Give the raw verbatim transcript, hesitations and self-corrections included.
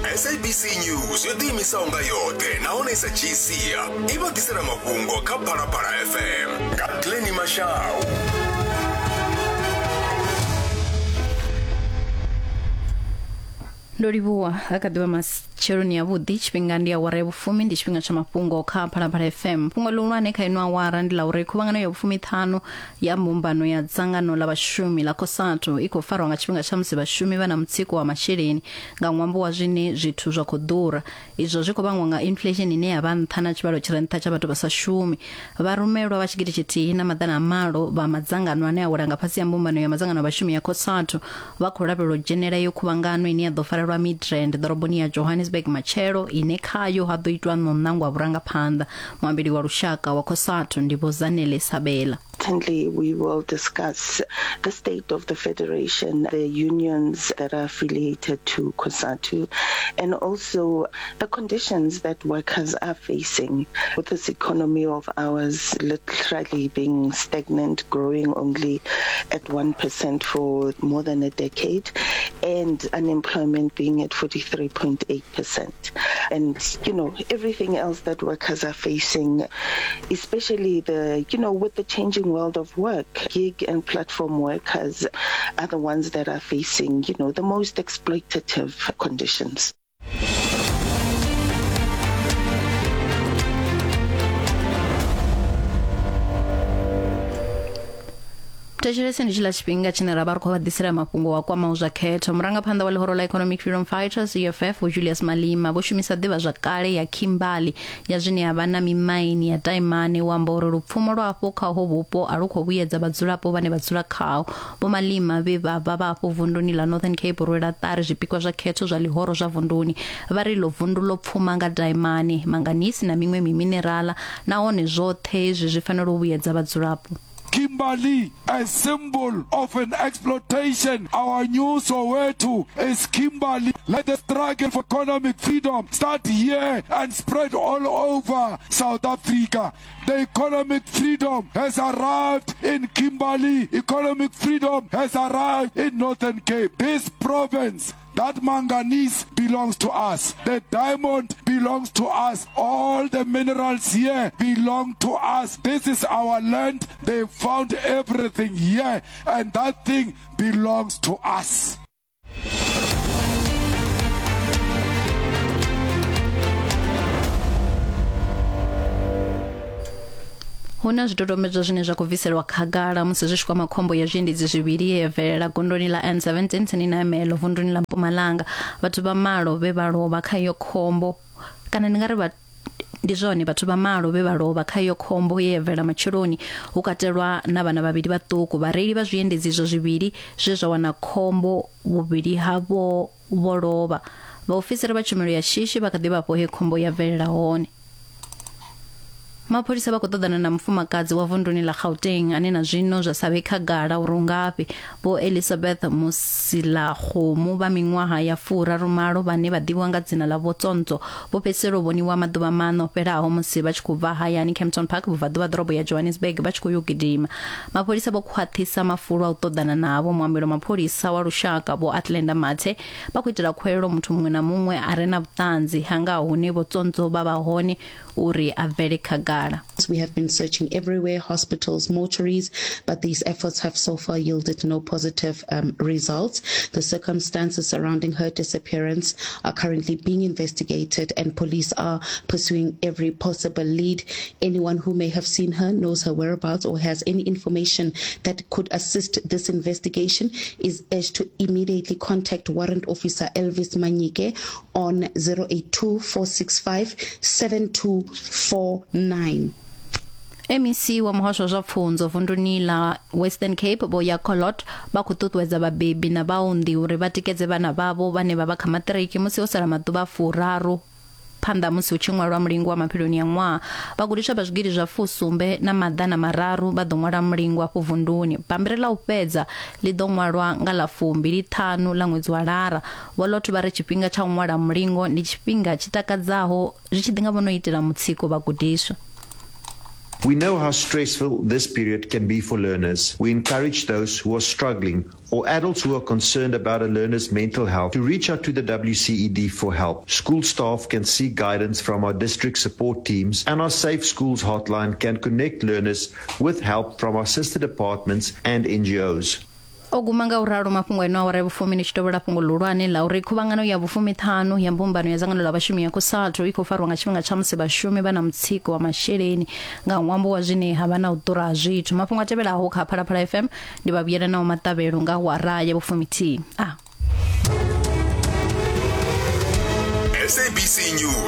S A B C News yo ḓiimisaho nga yoṱhe nahone sa dzhii sia i vha ḓisela mafhungo kha Phalaphala F M nga Glennie Mashau. Ndo livhuwa ha kha ḓivha matsheloni ya vhuḓi, tshifhinga ndi awara ya vhufumi, ndi tshifhinga tsha mafhungo kha Phalaphala F M. Fhungo ḽihulwane kha ino awara ndi ḽa uri khuvhangano ya vhufumi ṱhanu ya mbumbano ya dzangano ḽa vhashumi ḽa COSATU i khou farwa nga tshifhinga tsha musi vhashumi vha na mutsiko wa masheleni nga ṅwambo wa zwine zwithu zwa khou ḓura. Izwo zwi khou vhangwa nga inflation ine ya vha nṱha na tshivhalo tshi re nṱha tsha vhathu vha sa shumi. Vharumelwa vha tshigidi tshithihi na maḓana a malo vha madzangano ane a wela nga fhasi ya mbumbano ya madzangano a vhashumi ya COSATU vha khou lavhelelwa u dzhenela iyo khuvhangano ine ya ḓo farelwa Midrand ḓoroboni ya Johannesburg matshelo, ine khayo ha ḓo itwa ṋonangwa vhurangaphanḓa. Muambeli wa lushaka wa COSATU ndi Vho Zanele Sabela. Certainly, we will discuss the state of the federation, the unions that are affiliated to COSATU, and also the conditions that workers are facing with this economy of ours literally being stagnant, growing only at one percent for more than a decade, and unemployment being at forty-three point eight percent. And, you know, everything else that workers are facing, especially the, you know, with the changing world of work, gig and platform workers are the ones that are facing, you know, the most exploitative conditions. Thetshelese ndi tshiḽa tshifhinga tshine ra vha ri khou vha ḓisela mafhungo wa kwamaho zwa khetho. Murangaphanḓa wa ḽihoro ḽa Economic Freedom Fighters E F F Vho Julius Malema vho shumisa ḓivhazwakale ya Kimberley ya zwine ya vha na mimaini ya daimane u amba uri lupfumo lwa afho khaho vhupo a lu khou vhuyedza vhadzulapo vhane vha dzula khaho. Vho Malema vhe vha vha vha afho vunduni ḽa Northern Cape rwela ṱari zwipikwa zwa khetho zwa ḽihoro zwa vunduni. Vha ri ḽo vundu ḽo pfuma nga daimane, manganese na miṅwe miminerala, nahone zwoṱhe hezwi zwi fanela u vhuyedza vhadzulapo. Kimberley, a symbol of an exploitation. Our new Soweto is Kimberley. Let the struggle for economic freedom start here and spread all over South Africa. The economic freedom has arrived in Kimberley. Economic freedom has arrived in Northern Cape. This province, that manganese belongs to us. The diamond belongs to us. All the minerals here belong to us. This is our land. They found everything here, and that thing belongs to us. Huna zwidodombedzwa zwine zwa khou bviselwa khagala musi zwi tshi kwama khombo ya zwiendedzi zwivhili ye ya bvelela gondoni ḽa N seventeen tsini na Melo vunduni ḽa Mpumalanga. Vhathu vha malo vhe vha lovha kha iyo khombo, kana ndi nga ri vha ndi zwone vhathu vha malo vhe vha lovha kha iyo khombo ye ya bvelela matsheloni, hu katelwa na vhana vhavhili vhaṱuku. Vhareili vha zwiendedzi izwo zwivhili zwe zwa wana khombo, vhuvhili havho vho lovha. Vhaofisiri vha tshumelo ya shishi vha kha ḓi vha afho he khombo ya bvelela hone. Mapholisa vha khou ṱoḓana na mufumakadzi wa vunduni ḽa Gauteng ane na zwino zwa sa vhe khagala uri ungafhi. Vho Elizabeth Musilakgomu vha miṅwaha ya furarumalo vhane vha ḓivhiwa nga dzina ḽa Vho Tsonzo vho fhedzisela u vhoniwa maḓuvha maṋa o fhelaho musi vha tshi khou bva hayani Kempton Park vhubvaḓuvha ḓorobo ya Johannesburg vha tshi khou yo gidima. Mapholisa vho khwaṱhisa mafulo a u ṱoḓana navho. Muambeli wa mapholisa wa lushaka Vho Atlenda Mathe vha khou itela khuwelelo muthu muṅwe na muṅwe a re na vhuṱanzi ha nga hune Vho Tsonzo vha vha hone uri a bvele khagala. We have been searching everywhere, hospitals, mortuaries, but these efforts have so far yielded no positive um, results. The circumstances surrounding her disappearance are currently being investigated, and police are pursuing every possible lead. Anyone who may have seen her, knows her whereabouts, or has any information that could assist this investigation is urged to immediately contact Warrant Officer Elvis Manyike on zero eight two, four six five, seven two four nine. M E C wa muhasho wa zwa pfunzo vunduni ḽa Western Cape Vho Yakolot vha khou ṱuṱuwedza vhabebi na vhaunḓi uri vha tikedze vhana vhavho vhane vha vha kha maṱiriki musi ho sala maḓuvha furaru phanḓa musi hu tshi ṅwalwa mulingo wa mafheloni ya ṅwaha. Vhagudiswa vha zwigidi zwa fusumbe na maḓana mararu vha ḓo ṅwala mulingo afho vunduni. Bammbiri ḽa u fhedza ḽi ḓo ṅwalwa nga ḽa fumbili ṱhanu ḽa ṅwedzi wa Lara. Vho Lot vha ri tshifhinga tsha u ṅwala mulingo ndi tshifhinga tshi takadzaho zwi tshi ḓi nga vho no itela mutsiko vhagudiswa. We know how stressful this period can be for learners. We encourage those who are struggling or adults who are concerned about a learner's mental health to reach out to the W C E D for help. School staff can seek guidance from our district support teams, and our Safe Schools hotline can connect learners with help from our sister departments and N G Os. O guma nga u ralo mafhungo eno awara ya vhufumi ni tshi tovhela fhungo ḽihulwane ḽa uri khuvhangano ya vhufumiṱhanu ya mbumbano ya dzangano ḽa vhashumi ya COSATU i khou farwa nga tshifhinga tsha musi vhashumi vha na mutsiko wa masheleni nga ṅwambo wa zwine ha vha na u ḓura ha zwithu. Mafhungo a tevhelaho kha Phalaphala F M ndi vha vhuyela naho maṱavhelo nga awara ya vhufumithihi. Ah. S A B C News.